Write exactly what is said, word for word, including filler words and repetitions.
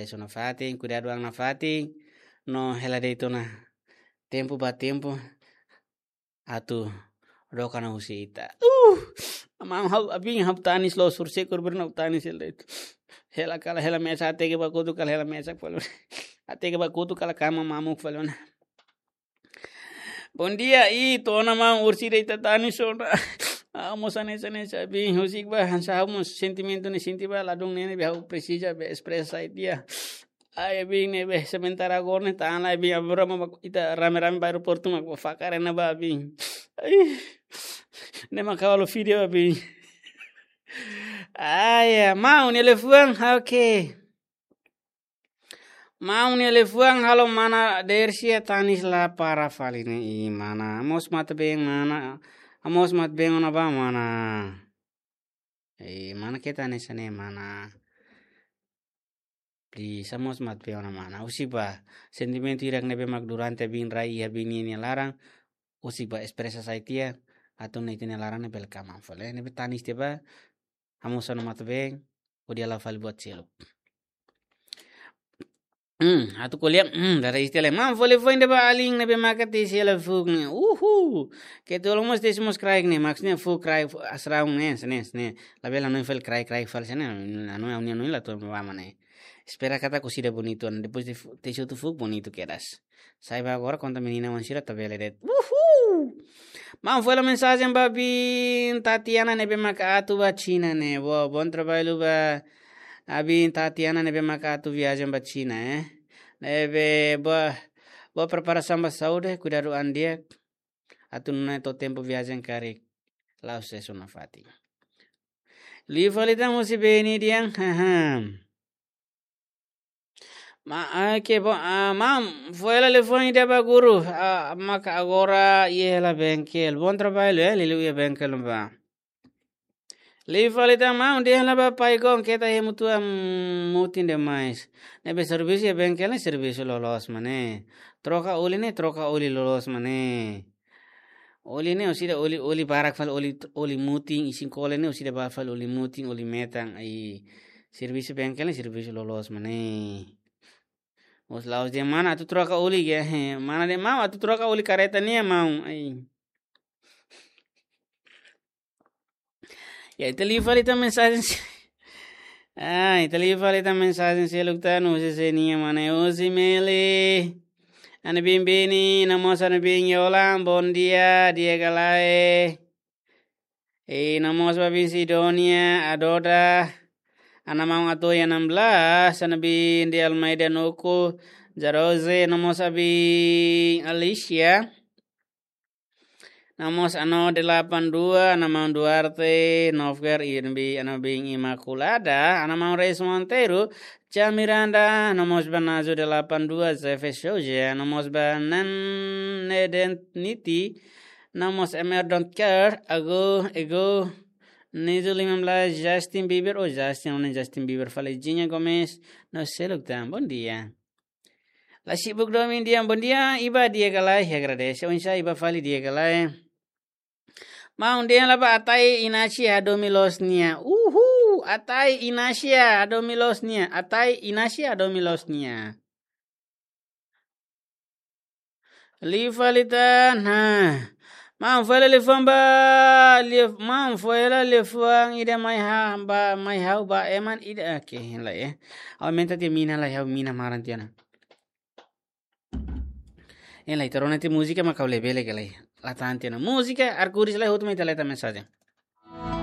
Sona fatin, kuidadu an nafatin, no hela de'it ona tempu ba tempu, atu doka na husi ita. Uh! Amang ha'u abin ha'u tanis loos, horiseik horibainrua ha'u tanis hela de'it. Hela kala hela mesak, hateke ba kotuk kala hela mesak fali ona. Hateke ba kotuk kala kama mamuk fali ona. Bondia, i tona maun, orsida ita tanis ona. Ah, mós hanesan, hanesan abin, husik ba, hanesan ha'u mós sentimentu ne'e sente ba, ladún ne'e ne'ebé ha'u presiza be espresa sai tiha. Ai, abin ne'ebé sementara agora ne'e tan lai abin, agora mak ita rame-rame ba aeroportu mak ba fakar ona ba abin. Ai. Ne'e mak halo vídeo abin. Ai, ya, maun nia liafuan, oke. Maun nia liafuan halo mana Dersia tanis la para fali ne'e, i mana. Mós matan-been mana. Mós matan-been ona ba mana. I mana ke tanis ne'e mana. Please, mós matan-been ona mana. Husik ba sentimentu hirak ne'ebé mak durante abin rai iha abin nia laran. Husik ba espresa sai tiha. Atu nune'e ita-nia laran ne'e bele kama fali. Ne'ebé tanis tiha ba. Ha'u mós ha'u-nia matan-been, hodi halo fali buat seluk. Hmm, atu ko'alia, hmm, dada istilah. Maun fó liafuan ida ba alin ne'ebé maka tesi hela fuuk ne'e. Uhu. Keta uluk mós tesi mós kraik ne'e, maksudnya fuuk kraik, fuuk asraung ne'e, sene, sene. Labele hanoin fali kraik, kraik fali sene, hanoin, hanoin la to'o ba mana ne'e. Espera katak orsida bonitu, depois de fu-, tesi hotu fuuk bonitu kedas. Sai ba agora konta menina wan sira tabele de'it. Uhu! Maun fó hela mensajen ba abin Tatiana ne'ebé maka atu ba Xina ne'e. Boa, bom trabalho ba abin Tatiana ne'ebé maka atu viajen ba Xina, eh. Ne'ebé boa, boa preparasaun ba saúde, kuidadu an di'ak. Atu nune'e to'o tempu viajen karik la'o sesu nafatin. Liu fali tan husi Beni Dian, haha. Ma, ah, ke bo, ah, maun, fó hela liafuan ida ba guru, ah, maka agora iha hela bengkel. Bom trabalho, eh, liuliu iha bengkel ba. Liu fali tan maun, dehan hela ba Pai Gon, keta hemu tua, mm, mutin demais. Ne'ebé servisu iha bengkel ne'e servisu loloos mak ne'e. Troka oli ne'e, troka oli loloos mak ne'e. Oli ne'e orsida oli, oli barak fali oli, oli mutin, isin kole ne'e orsida barak fali oli mutin, oli metan, ai servisu bengkel ne'e servisu loloos mak ne'e. Os laos de mana atu troka oli ke, he, mana dehan maun atu troka oli kareta nian maun, ai. Ya, ita liu fali tan mensajen se-, ah, ita liu fali tan mensajen seluk tan, husi Senia mana, husi Meli. Ana bin Beni, no mós ana bin Yolan, bom dia, di'ak ka lae. I no mós ba bin Sidonia, Adoda. Ana maun Atoya enam belas, ana bin de Almeida Nuku, Jarose, no mós abin Alicia. No mós Ano delapan dua, ana maun Duarte, Novger, Irmbi, ana bin Imaculada, ana maun Reis Monteiro, Tia Miranda, no mós ba Nazo delapan dua, Zefe Souza, no mós ba Nan Neden Niti, no mós Emer Don't Care, Ago, Ego, Nizo lima belas, Justin Bieber, oh Justin, oh Justin Bieber, fali Jinha Gomes, no seluk tan, bom dia. La sibuk domin di'ak, bom dia, i ba di'ak ka lae, agradese, oinsá i ba fali di'ak ka lae. Maun dehan hela ba Atai Inasia hadomi loos nia. Uhu, Atai Inasia hadomi loos nia. Atai Inasia hadomi loos nia. Liu fali tan, ha. Maun fó hela liafuan ba, liaf-, maun fó hela liafuan ida mai ha, ba, mai ha'u ba, eman ida, oke, hela ya. Aumenta tiha mina lai, ha'u mina maran tiha ona. Hela, ita rona tiha múzika mak ha'u labele ka lae. La tan tiha ona. Múzika, arkuris lai, hotu mai ita leta mensajen.